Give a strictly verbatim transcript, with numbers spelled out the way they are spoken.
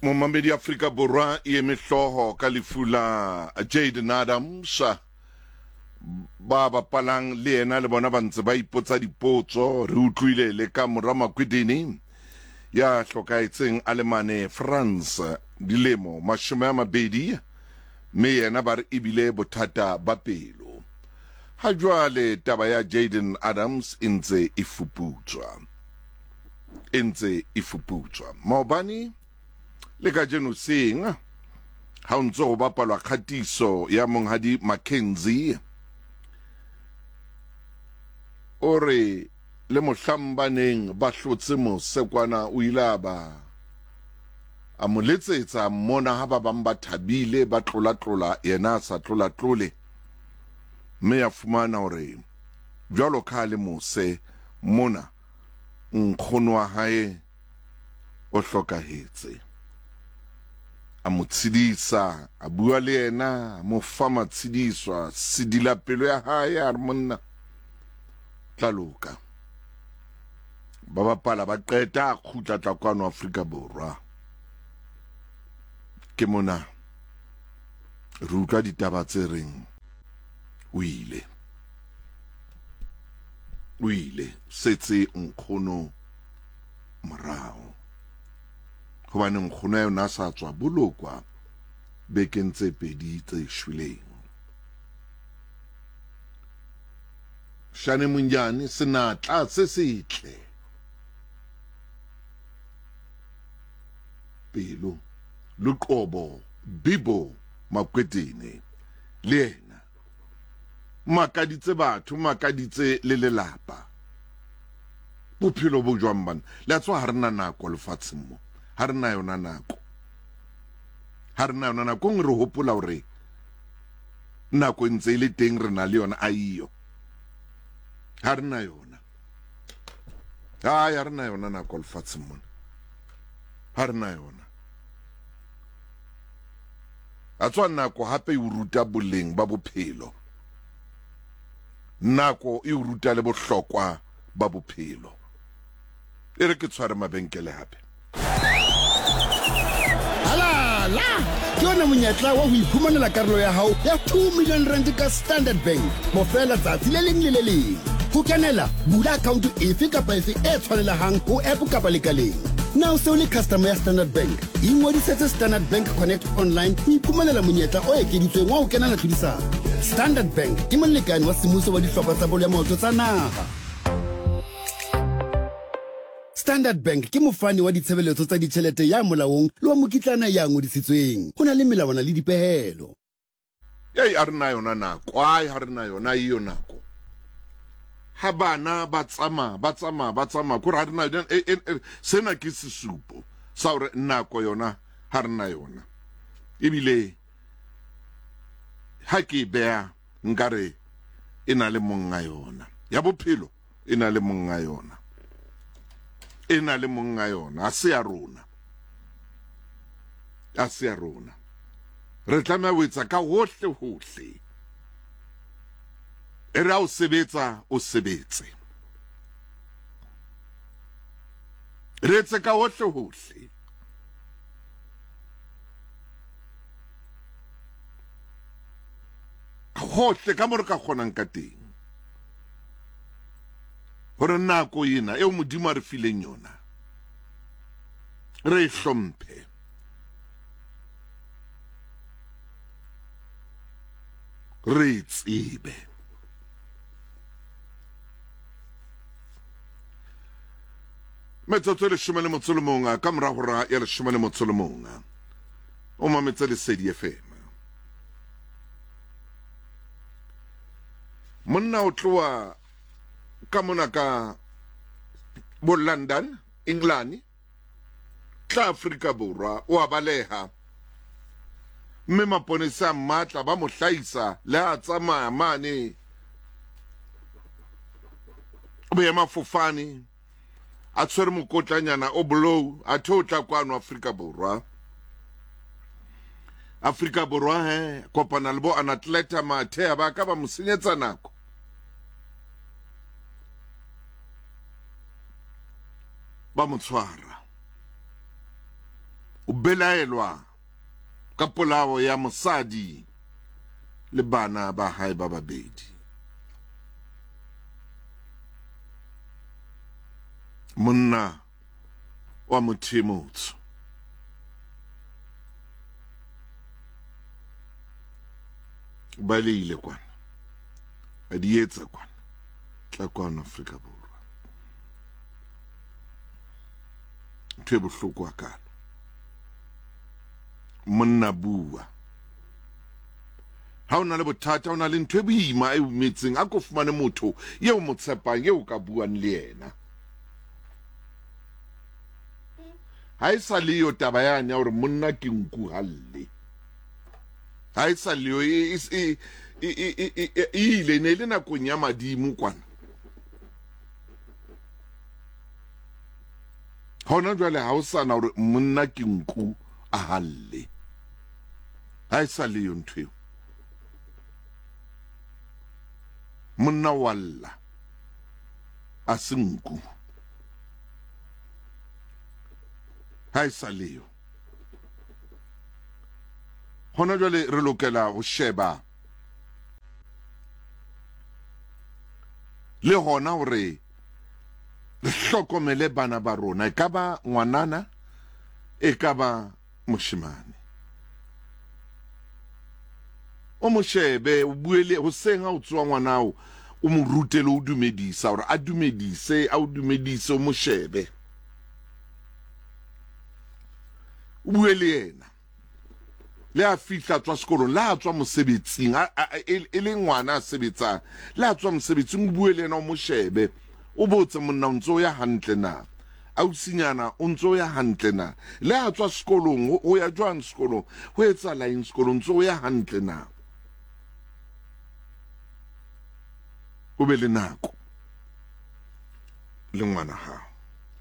Momamedi Afrika Borwa e eme hlooho ka lefu la Jayden Adams. Ba bapalang le yena le bona ba ntse ba ipotsa dipotso. Re utlwile le ka mora Makwedini ya hlokahetseng a le mane France dilemo mashome a mabedi, mme yena ba re ebile bothata ba pelo. Ha jwale taba ya Jayden Adams e ntse e fuputswa, e ntse e fuputswa. Maobane le kajeno seng ha o ntse ho bapalwa kgatiso ya monghadi Mackenzie, o re le mohlang ba neng ba hlotse mosekwana o ile a ba a mo letsetsa mmona ha ba bang ba thabile ba tlolatlola, yena a sa tlolatlole, mme ya fumana hore jwalo ka le mose mona nkgono wa hae o hlokahetse. A mo tshedisa, a bua le yena, a mo fa matshediso, a sedila pelo ya hae, a re monna tla loka. Ba bapala ba qeta, a kgutla tla kwano Afrika Borwa. Ke mona re utlwa ditaba tse reng o ile, o ile setse nkgono morao, hobane nkgono ya yona a sa tswa bolokwa bekeng tse pedi tse shweleng. Shane Monjane senatla se setle, pelo Luqobo Bibo Makwetini le yena makaditse batho, makaditse le lelapa. Bophelo bo jwang bana? Le a tswa ha re na nako lefatsheng mo, ha re na yona nako, ha re na yona nako. Re hopola hore nako e ntse e le teng, re na le yona, a iyo ha re na yona, ha re na yona nako lefatsheng mona, ha re na yona. A tswa nako hape e o ruta boleng ba bophelo, nako e o ruta le bohlokwa ba bophelo. E re ke tshware mabenkele hape. Halala! Ke yona monyetla wa ho iphumanela karolo ya hao ya two million rand ka Standard Bank bofela tsatsi le leng le le leng. Ho kenela, bula account efe kapa efe e tshwanelehang ho app kapa lekaleng. Na o se o le customer ya Standard Bank? Ingodisetse Standard Bank Connect online ho iphumanela monyetla o ekeditsweng wa ho kenela tlhodisano. Standard Bank ke molekane wa semmuso wa dihlopha tsa bolo ya maoto tsa naha. Standard Bank ke mofani wa ditshebeletso tsa ditjhelete ya molaong le wa mokitlana ya ngodisitsweng. Ho na le melawana le dipehelo. Ei, a re na yona nako, ai ha re na yona iyo nako. Ha bana ba tsamaya, ba tsamaya, ba tsamaya, kore ha re na yona, e, e, sena ke sesupo sa hore nako yona ha re na yona. Ebile ha ke e beha nkare e na le monga yona. Ya bophelo e na le monga yona. E na le monga yona, a se ya rona. A se ya rona. Re tlameha ho etsa ka hohle hohle. E re ha o sebetsa, o sebetse. Re etse ka hohle hohle. Hohle ka mo re ka kgonang ka teng. Hore nako ena eo Modimo a re fileng yona, re e hlomphe. Re e tsebe. Metsotso e leshome le motso le mong ka mora hora ya leshome le motso le mong. O mametse Lesedi F M. Monna o tloha ka mona ka bo London, England, tla Afrika Borwa, o a baleha. Mme maponesa a mmatla ba mo hlahisa le ha tsamaya mane boemafofane a tshwere mokotlanyana o blue, a the o tla kwano Afrika Borwa. Afrika Borwa he kopana le bo anatleta mathe ba ka ba mo senyetsa nako. Ba mo tshwara. O belaelwa ka polao ya mosadi le bana ba hae ba babedi. Monna wa motho e motsho ba leile kwana, a di etsa kwana, tla kwano Afrika Borwa. Ntho e bohloko hakalo. Monna bua. Ha o na le bothata, o na le ntho e boima e umetseng, a ko fumane motho eo mo tshepang, eo ka buang le yena. Ha e sa le yo taba yane ya hore monna ke nku halle. Ha e sa le yo, e e e e e ile ne le nakong ya madimo kwana. Hona jwale ha o sana hore monna ke nku a halle. Ha e sa le yo ntho eo. Monna wa lla a se nku. Ha e sa le yo. Hona jwale re lokela ho sheba le hona hore re hlokomele bana ba rona, e ka ba ngwanana, e ka ba moshemane. O mo shebe, o bue le hoseng ha o tsoha ngwanao, o mo rute le ho dumedisa, hore a dumedise, a o dumedise, o mo shebe. O bue le yena. Le a fihla tswa sekolong, le a tswa mosebetsing, e le ngwana a sebetsang, le a tswa mosebetsing, o bue le yena, o mo shebe. O botse monna o ntso ya hantle na, ausinyana o ntso ya hantle na, le a tswa sekolong, o ya jwang sekolong, ho etsahala eng sekolong, ntso ya hantle na. O be le nako le ngwana hao.